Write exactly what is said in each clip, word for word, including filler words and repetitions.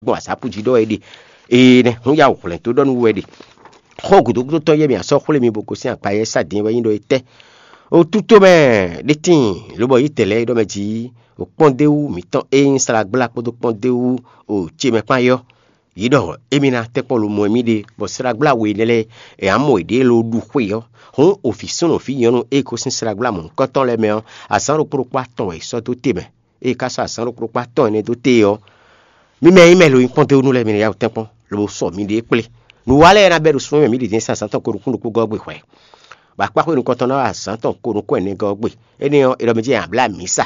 gbɔn azápú jí ɖɔ wɛ é ɖe. Ee nɛ́, hún ya wǔ hwlɛ̌n tó ɖɔ nú wú wɛ ɖe. Xó gǔdo gúdo tɔn yɛ mì a sɔ́ xwlé mi bó gosín akpa yɛ sá din wɛ nyí ɖɔ é tɛ́. O tútó mɛ ɖé tíin, lobɔ yí tɛ̌ lɛ́ɛ é ɖɔ mɛ jí, o kpɔ́ndéwú mǐtɔn e nyí Slagbla kpódó kpɔ́ndéwú o ce mɛ kpán yɔ́, yě ɖɔ émí ná tɛ́nkpɔ́n lomɔ mì ɖe, bɔ Slagbla we énɛ́ lɛ́ɛ è nǎ mɔ yěɖée ló ɖu xwe ɔ́. Hǔn o vǐ súnnu vǐ nyɔ̌nu e gosín Slagbla mɔ̌hunkɔtɔn lɛ́ɛ mɛ ɔ́, azǎn ɖokpó ɖokpó atɔn wɛ è sɔ́ dó te mɛ. Ée ka sɔ́ azǎn ɖokpó ɖokpó atɔn énɛ́ dó te ɔ́, mi mɛ e nyí mɛ lo nyí kpɔ́ndéwúnú lɛ́ɛ, mi ná yá wǔ tɛ́nkpɔ́n, lobo sɔ miɖée kplé. Nǔ wa lɛ́ɛ ná bɛ́ ɖo súnnu mɛ mǐ ɖě din sín azǎn tɔn ko nukún ɖokpó gɔ́ gbe hwɛ̌. Bɔ akpáxwé nukɔntɔn ná wa azǎn tɔn ko nukún ɛnɛ gɔ́ gbe. Énɛ́ ɔ́, è ɖɔ mɛ jí è nǎ blá mǐsa.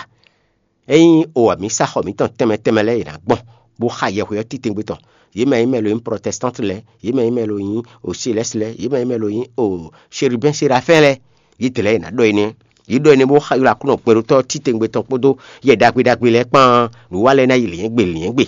Ényí o amǐsaxɔ mǐtɔn tɛnmɛ tɛnmɛ lɛ́ɛ è nǎ gbɔn, bó xa yɛhwe ɔ́ titewungbe tɔn. Yě mɛ e nyí mɛ lo nyí protestante lɛ́ɛ, yě mɛ e nyí mɛ lo nyí ocelɛ́s lɛ́ɛ, yě mɛ e nyí mɛ lo nyí o chérubin sérafɛ́n lɛ́ɛ, yě dlɛ̌ è nǎ ɖɔ énɛ́. Yě ɖɔ énɛ́ bó xa ylɔ́ Aklúnɔ gbɛɖótɔ́ titewungbe tɔn kpódó yɛ ɖagbe ɖagbe lɛ́ɛ kpán. Nǔ wa lɛ́ɛ ná yi lǐnyɛ́gbe lǐnyɛ́gbe.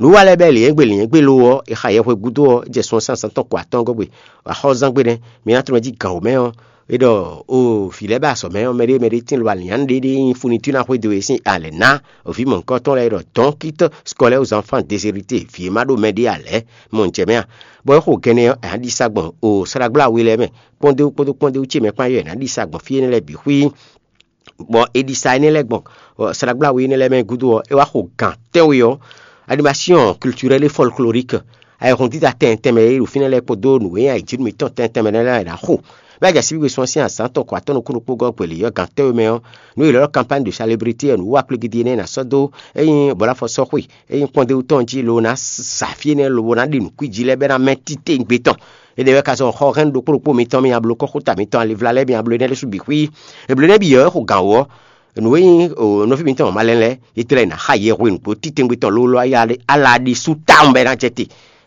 Nǔ wa lɛ́ɛ bɛ́ lǐnyɛ́gbe lǐnyɛ́gbe lo ɔ́, è xa yɛhwe gúdo ɔ́, é jɛ sun ɔ́ sín azǎn tɔn ko atɔ́ɔ́ngɔ́ gbe. Axɔ́zán gbe nɛ́, mi ná tlɔ́n jí gǎn wǒ mɛ ɔ́, é ɖɔ o vǐ lɛ́ɛ bɛ azɔ̌ mɛ ɔ́, mɛɖé mɛɖé tíin lo alǐnnyánú ɖé ɖé nyí funitúná xwedó e sín alɛ ná vǐ mɔ̌hunkɔtɔn lɛ́ɛ, é ɖɔ dɔn kít skɔlɛ́ aux enfants déshérités, vǐ e ma ɖó mɛɖé ǎ lɛ́ɛ, mɔ un jɛ mɛ a? Bɔ é xo gɛnɛ ɔ́, è nǎ ɖi sa gbɔn o slágbláwe lɛ́ɛ mɛ, kpɔ́ndéwú kpódó kpɔ́ndéwú ce mɛ kpán yɔ́ è nǎ ɖi sa gbɔn fí énɛ́ lɛ́ɛ bǐ xwí. Bɔ è ɖi sa énɛ́ lɛ́ɛ gbɔn slágbláwe énɛ́ lɛ́ɛ mɛ gúdo ɔ́, é wá xo gǎn tɛ́nwe ɔ́, animation culturelle et folklorique, ayihún dídá tɛnmɛ tɛnmɛ e ɖo fínɛ́ lɛ́ɛ kpódó nǔ e nyí ayǐjínú mǐtɔn tɛnmɛ tɛnmɛ lɛ́ɛ ná xo. Bɛ́ jɛ síbígbe sɔ́ sín azǎn tɔn kɔ atɔ́ nukún ɖokpó gɔ́ gbe lě ɔ́ gǎn tɛ́nwe mɛ ɔ́, nǔ e è ylɔ́ ɖɔ campagne de célébrité ɔ́, nǔ wa kplégídí énɛ́ ná sɔ́ dó ényí bɔ̌lafɔ sɔ́ xwe, ényí kpɔ́ndéwú tɔn jí lo ná sa fí énɛ́ lobo ná ɖi nǔkwíji lɛ́ɛ bɛ́ ná mɛ títewungbe tɔn. Énɛ́ wɛ ka zɔn xɔ hɛn ɖokpó ɖokpó mitɔn mi abló kɔ́xota mitɔn alivla lɛ́ɛ mi abló énɛ́ ɖésú bǐ xwí. Eblo énɛ́ bǐ ɔ́, é xo gǎn wú ɔ́, nǔ e nyí nɔví mitɔn malɛn lɛ́ɛ, é tlɛ ná xa yɛhwe nǔgbó titewungbe tɔn lólo ala ɖésú tawun bɔ é ná jɛ te.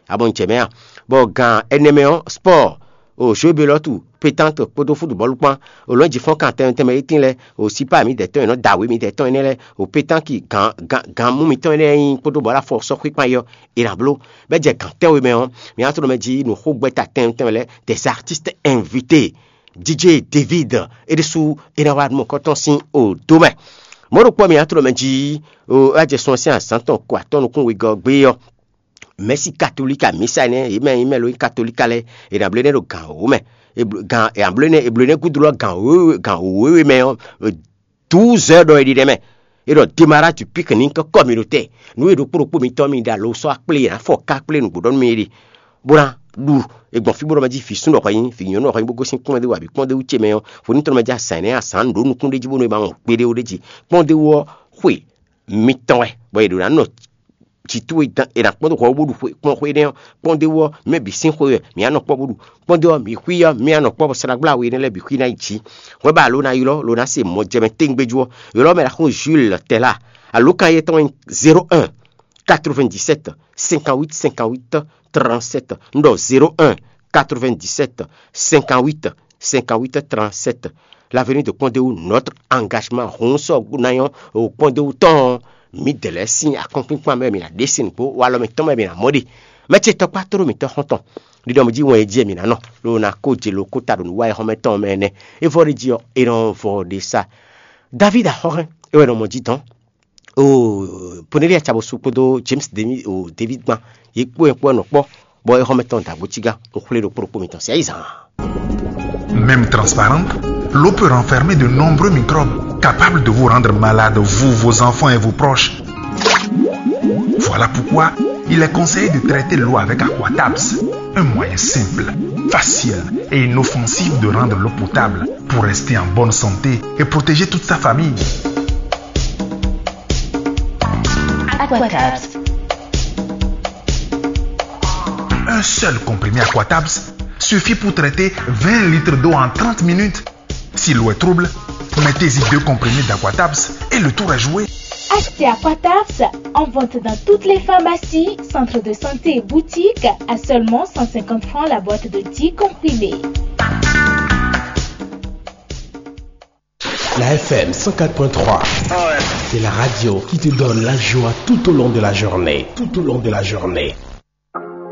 Abɔ un jɛ mɛ a? Bɔ gǎn ɛnɛ mɛ ɔ́, spɔ́ɔ, o jǒbelɔ́tu, pétante kpódó futubɔ́lu kpán, o lɔ̌n jǐ fɔ́n kan tɛnmɛ tɛnmɛ étín lɛ́ɛ, o sípá mǐdɛɛ tɔn e nɔ da wě mǐdɛɛ tɔn énɛ́ lɛ́ɛ, o pétanki gǎn gǎn gǎn mú mitɔn énɛ́ nyí kpódó bɔ̌ ɖo afɔ sɔ́ xwíkpan yɔ, è nǎ bló. Bɛ́ jɛ gǎn tɛ́nwe mɛ ɔ́, mi ná tló mɛ jí nǔxógbɛ́ta tɛnmɛ tɛnmɛ lɛ́ɛ, des artistes invités, D J David, é ɖésú é ná wá nú mɔ̌kɔtɔn sín o dó mɛ. Mɔ̌ ɖokpó mi ná tló mɛ jí o é wá jɛ sun ɔ́ sín azǎn tɔn ko atɔ́ nukún wegɔ́ ɔ́ gbé ɔ́, mɛ̌si katolíka mǐsa énɛ́, yě mɛ nyí mɛ lo nyí katolíka lɛ́ɛ, è nǎ bló énɛ́ ɖo gǎn wǒ mɛ. È bló- gǎn è nǎ bló énɛ́ è bló énɛ́ gúdo lɔ gǎn wěwe gǎn wěwe mɛ ɔ́, douze heures ɖɔ è ɖi ɖɛ mɛ. É ɖɔ démarrage du pique-nique communautaire. Nǔ e ɖokpó ɖokpó mitɔn mi ɖe alo sɔ́ akplé, è nǎ fɔ ká akplé nǔgbó ɖɔ nú mi é ɖe, bó ná ɖu. È gbɔn fí bó ɖɔ mɛ jí vǐ súnnu ɔ́ hwɛ nyí, vǐ nyɔ̌nu ɔ́ hwɛ nyí, bó gosín kpɔ́ndéwú abǐ kpɔ́ndéwú ce mɛ ɔ́, hwenú tɔn mɛ jí azǎn énɛ́ azǎn ɖǒ nukún ɖé jí bónú è ma wɔn gbeɖé ó ɖé jí. Kpɔ́ndéwú ɔ́ xwe mitɔn wɛ, bɔ è ɖǒ ná nɔ jǐ towe dán è nǎ kpɔ́n dó hwɛ wú bó ɖu xwe kplɔ́n xwe énɛ́ ɔ́, kpɔ́ndéwú ɔ́, mɛ bǐ sín xwe wɛ mǐ á nɔ kpɔ́ bó ɖu. Kpɔ́ndéwú ɔ́, mǐ xwí ɔ́, mǐ á nɔ kpɔ́ bɔ slágbláwe énɛ́ lɛ́ɛ bǐ xwí ná yi jǐ. Hwɛ ba alo ná ylɔ́ lo ná se mɔ jɛmɛ téŋgbéjú ɔ́, ylɔ́ mɛ ɖaxó Jules Tɛla. Alo kan yɛtɔn nyí zéro un quatre-vingt-dix-sept cinquante-huit cinquante-huit trente-sept. Un ɖɔ zéro un quatre-vingt-dix-sept cinquante-huit cinquante-huit trente-sept. L'avenir de Kpɔ́ndéwú, notre engagement. Hun sɔ́ ná nyɔ́ o Kpɔ́ndéwú tɔn ɔ́, mǐdɛɛ lɛ́ɛ sín akɔ́nkpinkpan mɛ mǐ ná ɖe sín nǔgbó, walɔ mǐtɔn mɛ mǐ ná mɔ ɖe. Mɛ ce tɔkpá tló mǐtɔn xɔ́ntɔn ɖiɖɔ mǐ jí wɛn e jí mǐ ná nɔ, ló ná kó je lo kó ta ɖo nǔ wa e xɔ́mɛ tɔn mɛ nɛ́. É vɔ ɖé jí ɔ́, è nɔ vɔ ɖe sa. David Axɔ́hɛn é wɛ nɔ mɔ jí dɔn. O Poneli Acabosu kpódó James David o David gban, yě kpó ɛ kpó ɛ nɔ kpɔ́, bɔ é xɔ́mɛ tɔn dǎgbó cígá. Un xwlé ɖokpó ɖokpó mitɔn sɛ yi zan. Même transparente, l'eau peut renfermer de nombreux microbes capables de vous rendre malade, vous, vos enfants et vos proches. Voilà pourquoi il est conseillé de traiter l'eau avec Aquatabs, un moyen simple, facile et inoffensif de rendre l'eau potable pour rester en bonne santé et protéger toute sa famille. Aquatabs. Un seul comprimé Aquatabs suffit pour traiter vingt litres d'eau en trente minutes. Si l'eau est trouble, mettez-y deux comprimés d'Aquatabs et le tour est joué. Achetez Aquatabs en vente dans toutes les pharmacies, centres de santé et boutiques à seulement cent cinquante francs la boîte de dix comprimés. La F M cent quatre point trois, c'est la radio qui te donne la joie tout au long de la journée. Tout au long de la journée.